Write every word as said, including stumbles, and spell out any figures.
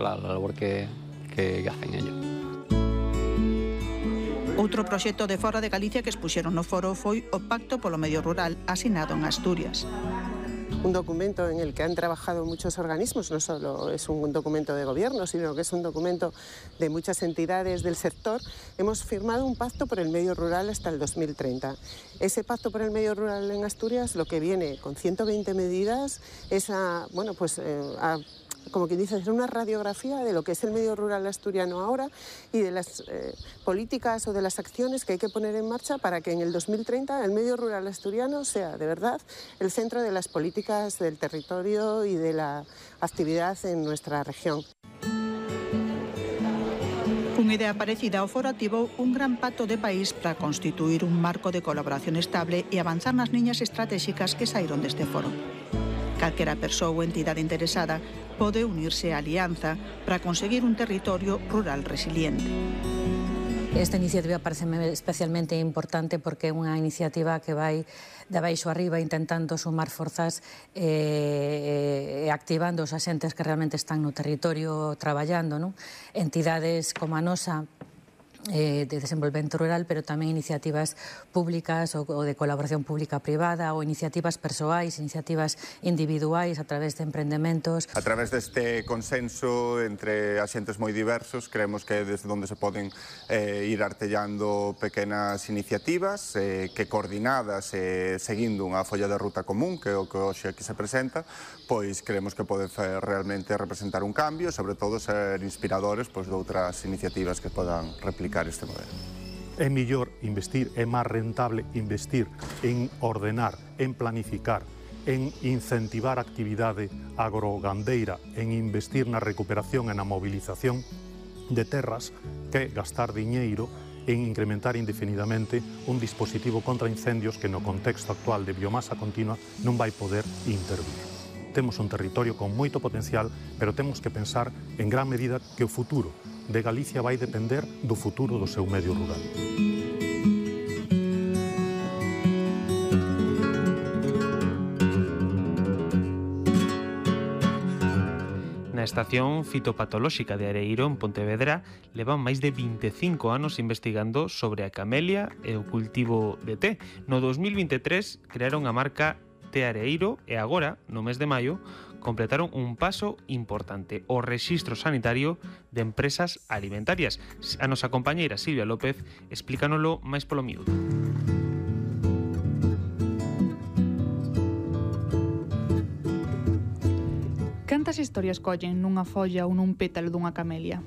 la labor que, que hacen ellos. Outro proxecto de fora de Galicia que expuxeron no foro foi o Pacto polo Medio Rural asinado en Asturias. Un documento en el que han trabajado muchos organismos, no solo es un documento de gobierno, sino que es un documento de muchas entidades del sector. Hemos firmado un pacto por el medio rural hasta el dos mil treinta. Ese pacto por el medio rural en Asturias lo que viene con ciento veinte medidas es a, bueno, pues, eh, a como quien dice, hacer una radiografía de lo que es el medio rural asturiano ahora y de las eh, políticas o de las acciones que hay que poner en marcha para que en el dos mil treinta el medio rural asturiano sea de verdad el centro de las políticas del territorio y de la actividad en nuestra región. Unha idea parecida ao foro activou un gran pacto de país para constituir un marco de colaboración estable e avanzar nas liñas estratégicas que saíron deste foro. Calquera persoa ou entidade interesada pode unirse á alianza para conseguir un territorio rural resiliente. Esta iniciativa pareceme especialmente importante porque é unha iniciativa que vai de abaixo arriba intentando sumar forzas e eh, activando os axentes que realmente están no territorio traballando, non? Entidades como a nosa Eh, de desenvolvemento rural, pero tamén iniciativas públicas ou, ou de colaboración pública-privada ou iniciativas persoais, iniciativas individuais a través de emprendementos. A través deste consenso entre axentes moi diversos, creemos que é desde onde se poden eh, ir artellando pequenas iniciativas eh, que coordinadas e eh, seguindo unha folla de ruta común, que é o que hoxe aquí se presenta, pois creemos que pode realmente representar un cambio, sobre todo ser inspiradores pois, de outras iniciativas que podan replicar este modelo. É mellor investir, é máis rentable investir en ordenar, en planificar, en incentivar a actividade agrogandeira, en investir na recuperación e na movilización de terras que gastar diñeiro en incrementar indefinidamente un dispositivo contra incendios que no contexto actual de biomasa continua non vai poder intervir. Temos un territorio con moito potencial, pero temos que pensar en gran medida que o futuro de Galicia vai depender do futuro do seu medio rural. Na estación fitopatolóxica de Areiro, en Pontevedra, levan máis de vinte e cinco anos investigando sobre a camelia e o cultivo de té. No dos mil vinte e tres crearon a marca Té Areiro e agora, no mes de maio, completaron un paso importante, o rexistro sanitario de empresas alimentarias. A nosa compañeira Silvia López explícanolo máis polo miúdo. Cantas historias collen nunha folla ou nun pétalo dunha camelia?